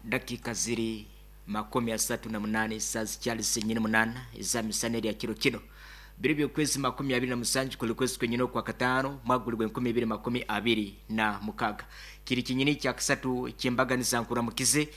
Dakika ziri 38 saa zikyali zenyini 8 ezamisana erya kiro kino biri by'okwezi 27 kuli kwezi kwenyini okwa kataano mwaka guli gw'e 2026. Kiri kinyini kya kasatu kyembaganiza. Nkuramukize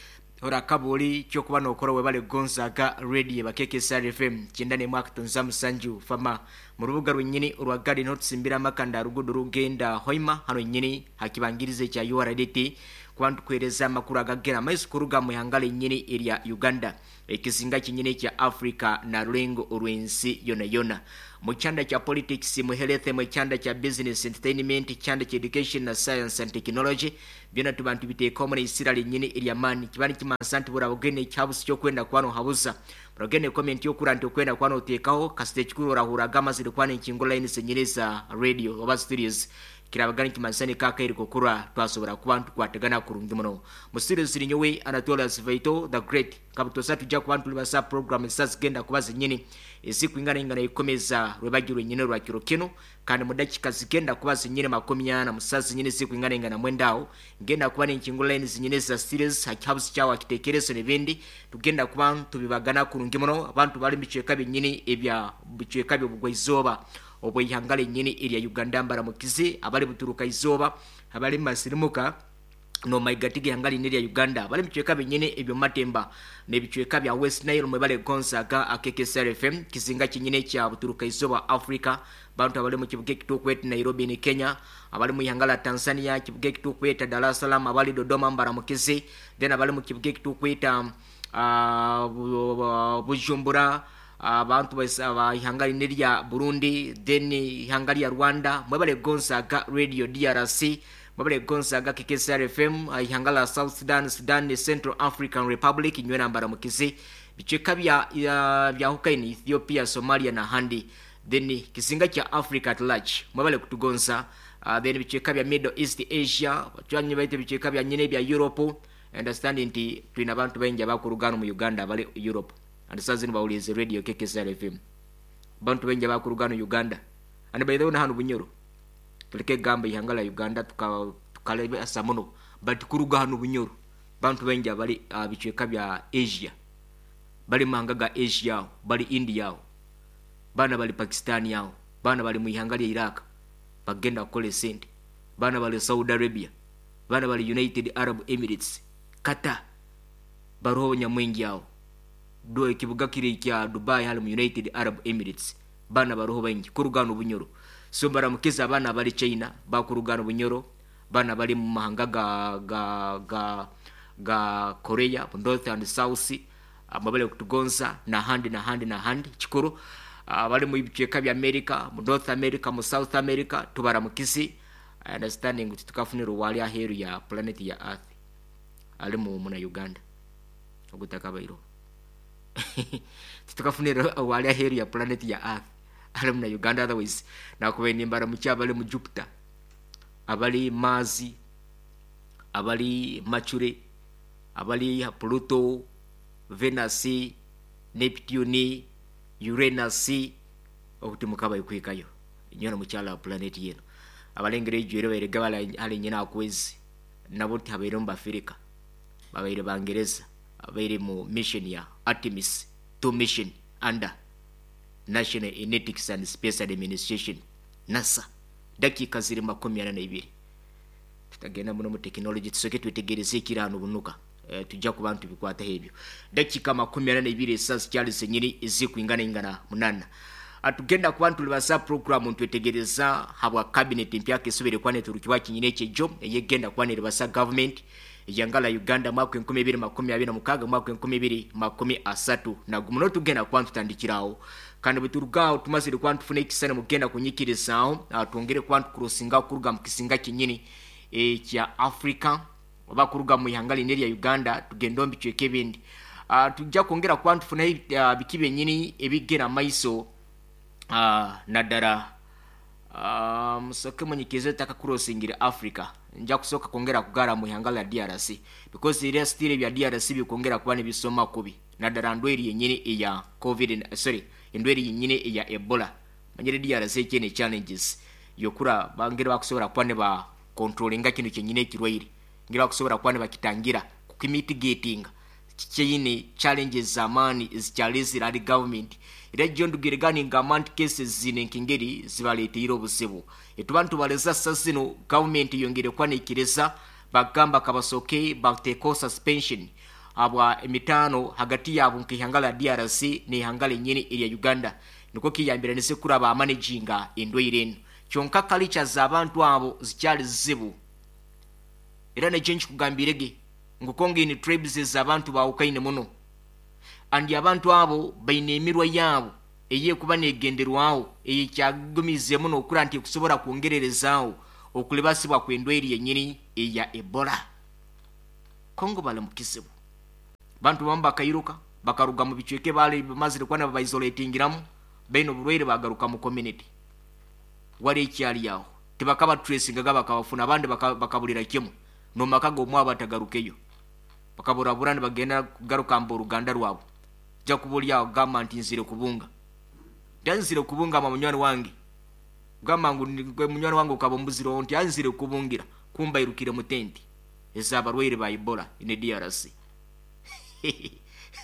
orakabuuli kyokuba nokora. Webale kugonzaga radio bakekesar FM 91.7 fama mu rubuga rwenyini orwa Garden otusimbira amakanda rugudo rugenda Hoima hano nyini hakibangirize kya URDT kuba ntukwereza amakuru agagera amaiso kuruga mu ihanga lenyini erya Uganda, ekizinga kinyini kya Africa na rulengo orw'ensi yona yona, mu kyanda kya politics, mu health, mu kyanda kya business, entertainment, kyanda kya education na science and technology. Byona tuba ntubiteekamu muri isira lenyini ery'amaani. Kiba nikimansa nti burabugene ekyabusi kyokwenda kuba nohabuza, burabugene comment yokura nti okwenda kuba noteekaho kasita. Ekikuru orahuraga amazire kuba nenkingo line zenyini za radio oba studios kirabaga nikimanisa nikakaire kukura twasobora kuba ntukwatagana kurungi muno. Mu studio ziri nyowe Anatolas Vaito the Great. Kabutosa tujja kuba ntulibasa program ezisa zigenda kuba zenyini ezikwingana ingana ikomeza rwebagi rwenyini rwa kiro kino. Kandi mu dakika zigenda kuba zenyini 40 musa zenyini zikwingana ingana mwendawo ngenda kuba nenkingo line zenyini za studios hakihabusi kyawo akitekerezo n'ebindi tugenda kuba tubibagana kurungi muno. Abantu bali mu bicweka byenyini ebya bicweka by'obugwaizooba obweihanga lenyini erya Uganda, mbaramukize. Abali buturuka izooba, abali masirimuka nomaiga g'ihanga lini erya Uganda, bali mubicweka binyini ebyomumatemba n'ebicweka bya West Nile, mwebale gonzaga akekesr FM, kizinga kinyini kya buturuka izooba Africa. Bantu abali mu kibuga ekitukweta Nairobi ni Kenya, abali mu ihanga la Tanzania, kibuga ekitukweta Dar es Salaam, abali Dodoma, mbaramukize. Then abali mu kibuga ekitukweta Bujumbura, abantu ba ihanga lini lya Burundi, then ihanga lya Rwanda, mwebale gonzaga radio DRC, mwebale gonzaga KKSR FM, ihanga la South Sudan, Sudan, Central African Republic, nywena mbaramukize. Bicweka bya hukaini Ethiopia, Somalia na handi, then kizinga kya Africa at large, mwebale kutugonza. Then bicweka bya Middle East, Asia, bacwanyi baite bicweka bya nyine bya Europe. Understand nti tulina abantu baingi abakurugano mu Uganda abali Europe and saa zino bawulize radio KKSR FM. Bantu baingi abakurugano Uganda and by the way na hano Bunyoro. Tuleke gamba ihanga la Uganda tukalebe asa muno, but kuruga hano Bunyoro bantu baingi abali bicweka bya Asia, bali mahanga ga Asia aho, bali India aho, bana bali Pakistan aho, bana bali mu ihanga lya Iraq bagenda kukola esente, bana bali Saudi Arabia, bana bali United Arab Emirates, Qatar, baroho nyamwingi aho do ekibuga kiri kya Dubai hali mu United Arab Emirates, bana baroho baingi kurugano Bunyoro. So baramukiza abaana bali China bakurugano Bunyoro, bana bali mu mahanga ga Korea North and South, amabale kutugonza na handi na handi na handi. Kikuru bali mu bicweka bya America, mu North America, mu South America, tubaramukizi. Understanding kuti tukafunira wali aheru ya planet ya Earth ali mu muna Uganda ogutakabairo, titukafunira wali aheru ya planet ya Earth ali muna Uganda. Otherwise nakubaine mbaramuki abali mu Jupiter, abali Mars, abali Mercury, abali Pluto, Venus, Neptune, Uranus, okuti mukaba ikwikayo nyona mukyala wa planet yeno. Abalengera ejwere bairega bali nyina akwezi nabo tihabaire mu Bafirika, babaire Bangereza abaire mu mission ya Artemis 2 mission under National Aeronautics and Space Administration, NASA. Dakika ziri 42. Tutagenda muno mu tekinologi, tusoke twetegereze ekirano bunuka. Tujja kuba ntubikwataho ebyo. Dakika 42 esaawa zikyali zenyini ezikwingana ingana 8. Atugenda kuba ntulibasa program ntwetegereza habwa cabinet mpyaka esubire kuba neturukibwa kinyine ekyejo eyegenda kuba neribasa government eyangala Uganda mwaka 2026 mwaka 2031. Muno tugenda kuba ntutandikirawo, kandi bweturugaho tumazire kuba ntufuna ekisana mugenda kunyikirizaaho, twongere kuba ntukurosinga kuruga mu kisinga kinyini ekya Africa oba kuruga mu ihanga lini erya Uganda tugenda omu bicweka ebindi. Tujja kwongera kuba ntufuna biki byenyini ebigenda maiso, naddala musoke munyikirize takakurosingira Africa. Nja kusooka kwongera kugara mu ihanga lya DRC because era still ebya DRC bikwongera kuba nibisoma kubi, naddala ndweri yenyini eya COVID, sorry, endweri yenyini eya Ebola. Manyire DRC ekyene challenges yokura bangere bakusobola kuba ne ba controllinga kino kyenyini ekirwaire, ngere bakusobola kuba ne bakitangira. Kumitigatinga kikyaine challenges z'amaani ezikyarezire ahari gavumenti. Era gyo ndugire ga ningamba nti cases zine nk'engeri zibaleteire obuzibu. Etuba nitubareza sa zinu gavumenti eyongeire kuba neikiriza bagamba kabasoke batekeho suspension habwa emitaano hagati yaabo nk'eihanga rya DRC n'eihanga renyini erya Uganda nikwo kiyambiranize kuraba managinga endwaire enu. Kyonka culture z'abantu abo zikyari zizibu. Era nekyo nkikugambire ge ngu kongaine tribes ez'abantu bawukaine muno and abantu abo baine emirwa yaabo eyekuba negenderwaho eyekyagumize muno okura nti ekusobora kwongererezaaho okulibasibwa kw'endwaire yenyini eya Ebola. Kongo bali mu kizibu. Bantu bamu bakairuka bakaruga mu bicweka bali bamazire kuba nibabaisoletingiramu baine oburwaire bagaruka mu community. Wari ekyali aho tibakaba tracingaga bakabafuna abandi bakaburira kimwe nomaka g'omwabo batagarukeyo bakaburabura nibagenda kugaruka mbu oruganda rwabo. Ja kuba aho gamba nti nzire kubunga, nzire kubunga ama munywani wange gamba ngu munywani wange ukaba ombuzire nti anzire kubungira kumba irukire mu tenti ez'abarwaire ba Ebola ine DRC.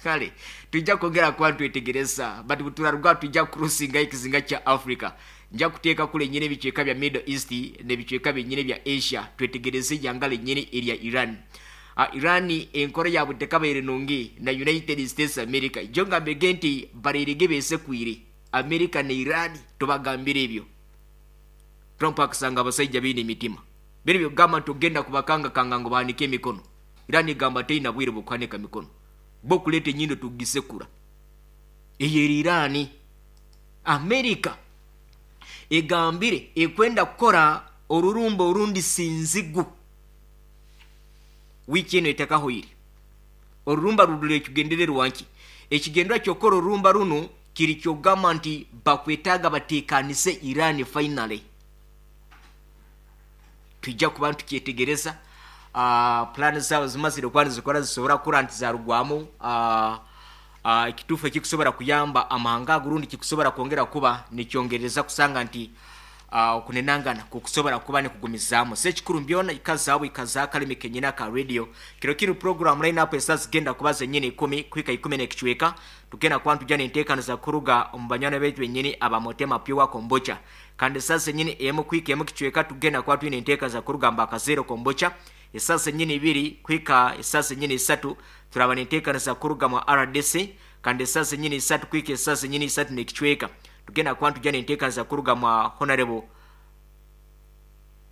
Kale tujja kwongera kuba twetegereza but buturaruga tujja crossinga ekizinga kya Africa. Nja kuteeka kule nyine ebicweka bya Middle East n'ebicweka byenyine bya Asia twetegereze eihanga lenyine erya Iran. Iran enkora yaabwe tekabaire nungi na United States America. Jo ngambege nti bareirege besekwire America na Iran tubagambire ebyo. Trump akasanga abasaija baine emitima biri byogamba nti ogenda kubakangakanga ngu bahanike emikono. Iran egamba teina bwire bw'okuhanika mikono bokuleeta enyindo tugisekura. Eyo eri Iran. America egambire ekwenda kukora orurumba orundi sinzigu wiiki eno etakahoire. Orurumba rurule ekigendererwa nki? Ekigendererwa ky'okukora orurumba runu kiri kyogamba nti bakwetaaga bateekanise Iran finally. Tujja kuba ntukyetegereza plan zaabo zimazire kuba nizikora zisobora kukura nti zarugwamu ekituufu ekikusobora kuyamba amahanga ago rundi kikusobora kwongera kuba nikyongereza kusanga nti okunenangana kukusobora kuba nikugumizaamu. So ekikuru mbyona ikazaawo ikazaa akalimi kenyini aka radio. Kiro kinu program line up esa zigenda kuba zenyini 10 kuhika 10 n'ekicweka. Tugenda kuba ntujja n'enteekaniza za kuruga omu banywani baitu benyini aba Motema Pure Kombucha. Kandi esa zenyini emu kuhika emu kicweka tugenda kuba twine enteekaniza kuruga mba Kazero Kombucha. Esa zenyini 2 kuhika esa zenyini 3 turaba n'enteekaniza kuruga mu RDC. Kandi esa zenyini 3 kuhika esa zenyini 3 n'ekicweka tugenda kuba ntujja n'enteekaniza kuruga mu Honorable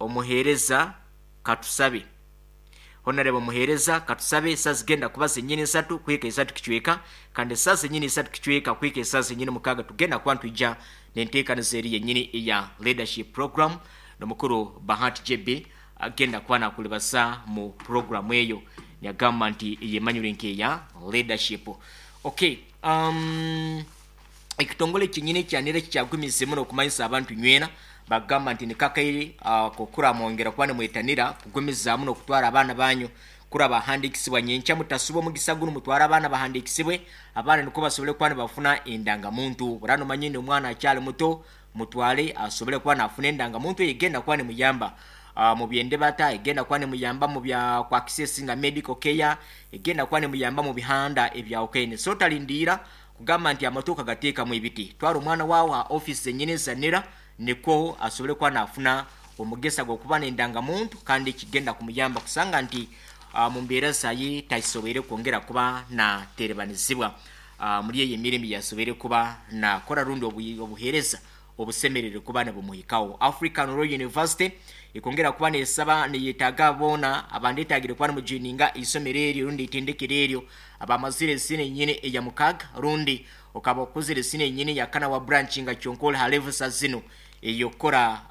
Omuheereza Katusabe. Honorable Muheereza Katusabe esa zigenda kuba zenyini 3 kuhika 3 kicweka. Kandi esa zenyini 3 kicweka kuhika esa zenyini 6 tugenda kuba ntujja n'enteekaniza eri yenyini eya leadership program n'omukuru Bahati JB agenda kuba nakulibasa mu program eyo yagamba nti eyemanyire nkeya leadership. Okay, ekitongole kyenyini kyanira kikyagumize muno okumanyisa abantu nywena bagamba nti nikakaire kokura mwongera kuba nimwetanira kugumizaamu n'okutwara abaana banyu kura bahandikisibwa nyenkya mutasuba omugisa guno mutwara abaana bahandikisibwe abaana niko basobole kuba nibafuna endangamuntu. Burano manyine omwana akyali muto mutwale asobole kuba nafuna endangamuntu egenda kuba nimuyamba mu byendebata, egenda kuba nimuyamba mu bya kwakisesinga medical care, egenda kuba nimuyamba mu bihanda ebyawukaine. So talindiira kugamba nti amatuuka gateekamu ebiti. Twara omwana waawe ha office zenyini zanira niko asobole kuba nafuna omugisa gw'okuba n'endangamuntu kandi kigenda kumuyamba kusanga nti mu mbeera zaye tasoboire kwongera kuba naterebanizibwa muri eyo emirimu yasoboire kuba nakora rundi obuheereza obusemerere kuba nibumuhikaho. African Royal University ikongera kuba nesaba neyetaaga boona abandetagire kuba nimujoininga isomero eryo rundi itendekero eryo abamazire esine nyine eya mukaga rundi okaba okuzire esine nyine ya kana wa branch nga kyonkola ha level sa zino eyokora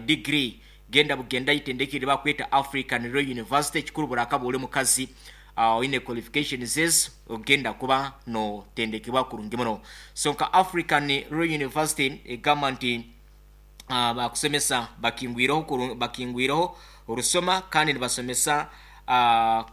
degree genda bugenda itendekero bakweta African Royal University kikuru buraka buli mukazi oine qualifications ezo ogenda kuba no tendekebwa kurungi muno. So nka African Royal University egamba nti bakusomesa bakingwireho orusoma kandi nibasomesa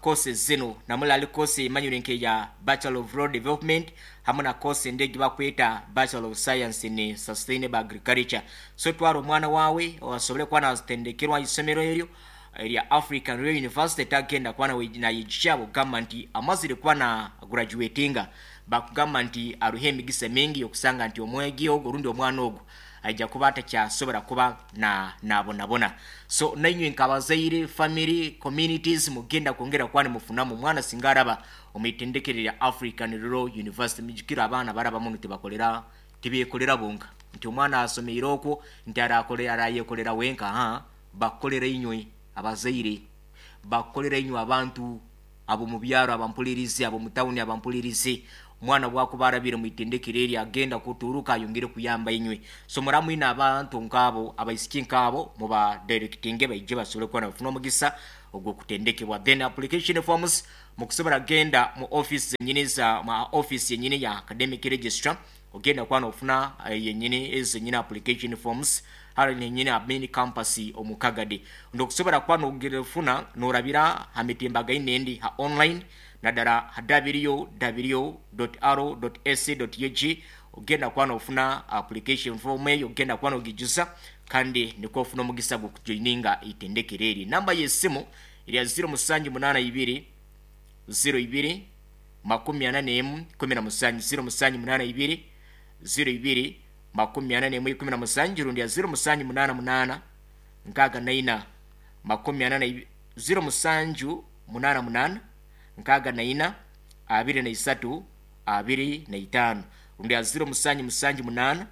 courses zino namulali course emanyire nke ya Bachelor of Road Development hamwe na course endegi bakweta Bachelor of Science in Sustainable Agriculture. So twara omwana wawe osobole kuba natendekerwa isomero eryo erya African Royal University tagenda kuba nayijukya kugamba nti amazire kuba na graduatinga bakugamba nti aruho emigisa mingi yokusanga nti omwegi ogwo rundi omwana ogwo aija kuba atakyasobora kuba na nabonabona. So nainywe nkabazaire, family, communities mugenda kwongera kuba nimufunamu omwana singa araba omwitendekero rya African Rural University. Mujukire abaana barabamu ntibakolera tibekolera bonka nti omwana asomeire okwo nti arayekolera wenka, ha bakukolera inywe abazaire, bakukolera inywe abantu abo mu byaro abampulirize, abo mu tawuni abampulirize. Omwana bwakuba arabire mwitendekero eri agenda kuturuka ayongere kuyamba inywe. So muramwine abantu nkabo, abaisiki nkabo muba directinge baije basobole kuba nabafuna omugisa ogw'okutendekebwa. Then application forms mukusobora genda mu office zenyini za ma office yenyini ya academic registrar, ogenda kuba nofuna yenyini ezo zenyini application forms hali nenyini main campus omu Kagadi. Ndokusobora kuba nogirefuna norabira ha mitimbagano endi ha online naddala ha www.r.ac.ug, ogenda kuba nofuna application form eyo, ogenda kuba nogijuza kandi nikwo ofuna omugisa gw'okujoininga itendekero eri. Namba y'esimu erya 0782 02 41 17, 0782 02 41 17, rundi ya 0788 64 42, 0788 64 23 25, rundi ya 0778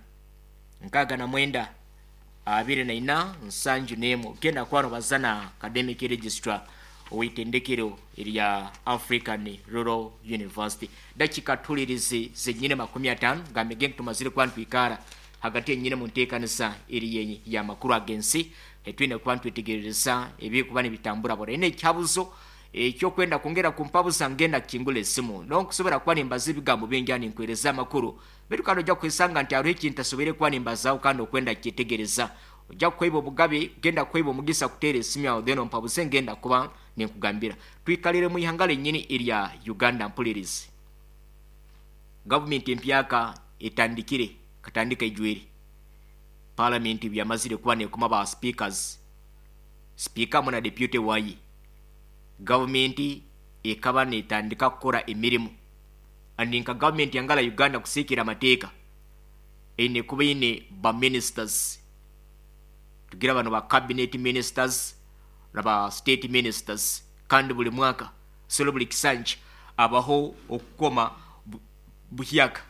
69 24 71. Genda kwano bazana academic registrar owitendekero erya African Rural University. Dakika tulirizi zenyine 50 gambe tumazire kuba ntwikara hagati yenyine mu nteekanisa eri ya makuru agensi etwine kuba ntwetegereza ebikuba nibitambura bora. Ene ekyabuzo ekyokwenda kwongera kumpabuza ngenda kingula esimu nonkusobora kuba nimbaza ebigambo bingi ani nkwereza amakuru, bitu kandi ojja kwesanga nti hariho ekintu ntasobore kuba nimbazaho kandi okwenda kukyetegereza. Ojja kweiba obugabe, genda kweiba omugisa kuteera esimu yawe then ompabuze ngenda kuba ninkugambira. Twikalire mu ihanga lenyini erya Uganda mpulirizi. Gavumenti empyaka etandikire katandika ijweri. Parliament byamazire kuba nekoma ba speakers. Speaker muna deputy wayi. Gavumenti ekaba netandika kukora emirimu. Andi nka gavumenti yangala Uganda kusikira amateeka. Eine kuba ine ba ministers. Tugira bano ba cabinet ministers na ba state ministers kandi buli mwaka solo buli kisanja abaho okukoma buhyaka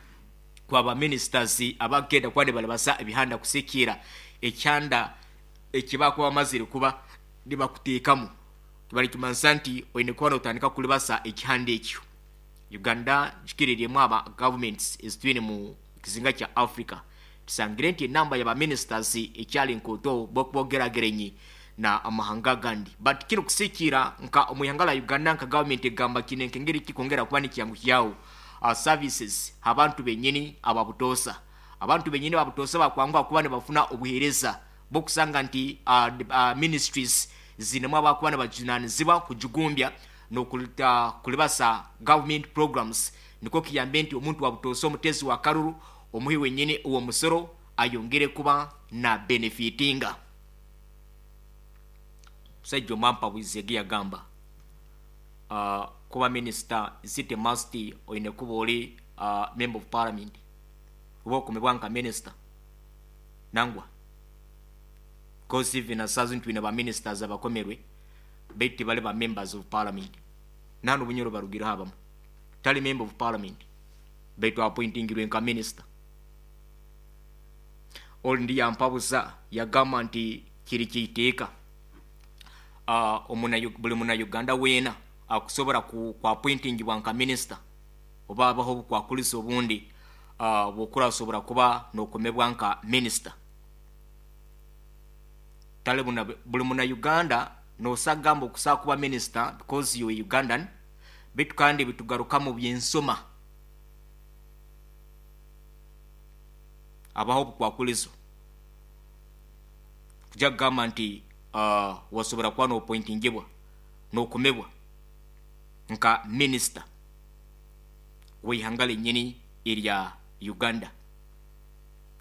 kwa ba ministers abagenda kwande balabasa ebihanda kusikira ekyanda ekibakuba bamazire kuba nibakuteekamu. Kibali kimansa nti oine kuba notandika kulibasa ekihanda ekyo. Uganda kikiriryemu aba governments ezitwine mu kizinga kya Africa. Tusangire nti enamba ya ba ministers ekyali nkoto bokubogeragerenyi na amahanga gandi. But kino kusikira nka omuyanga la Uganda nka government egamba kine nkengeri kikongera kuba nikyangu kyawo. Services abantu benyini ababutosa. Abantu benyini ababutosa bakwangwa kuba ne bafuna obuhereza bokusanga nti ministries zinemu abakuba ne bajunanizibwa kujugumbya n'okulita kulibasa government programs, niko kiyambe nti omuntu wabutosa omutezi wa karuru omuhi wenyini uwo musoro ayongere kuba na benefitinga. Musajja omwampa bwizege yagamba kuba minister is it must oine kuba oli member of parliament oba okumibwa nka minister nangwa, because even asazi ntwine ba ministers abakomerwe baitu bali ba members of parliament nanu Bunyoro barugira abamu tali member of parliament baitu appointingirwe nka minister. Oli ndi yampabuza yagamba nti kiri kiiteeka buli muna Uganda weena akusobora ku appointingibwa nka minister oba abaho obukwakulisa obundi bwokurasobora kuba nokomebwa nka minister. Tale buli muna Uganda nosagamba okusaa kuba minister because you are Ugandan, bitu kandi bitugaruka mu byensoma abaho obukwakulizo kujja kugamba nti wasobora kuba nopointingibwa nokomebwa nka minister w'eihanga lenyini erya Uganda.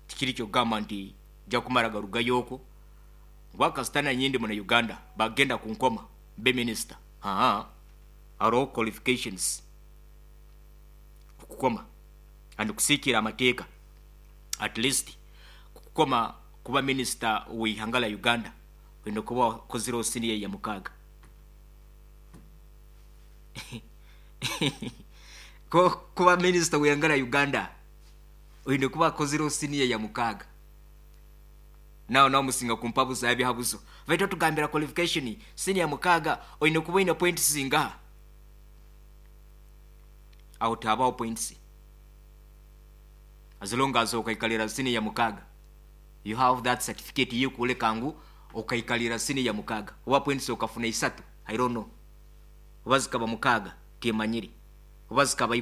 Tikiri kyokugamba nti ojja kumara garugayo okwo Ngu akasita nanye ndi muna Uganda bagenda kunkoma mbe minisita. Haa hariho qualifications kukukoma and kusikiira amateeka at least kukukoma kuba minisita w'eihanga rya Uganda oine kuba wakozireho siniya ya mukaaga. Kuba minisita w'eihanga rya Uganda oine kuba wakozireho siniya ya mukaaga. Nawe nawe musinga kumpabuza ebihabuzo. Baitu otugambira qualification siniya mukaaga oine kuba oine points zingaha? Aho tihabaho points. As long as okaikarira siniya mukaaga you have that certificate ey'ekworeka ngu okaikarira siniya mukaaga. Oba points okafuna isatu, I don't know. Oba zikaba mukaaga, tiimanyire. Oba zikaba.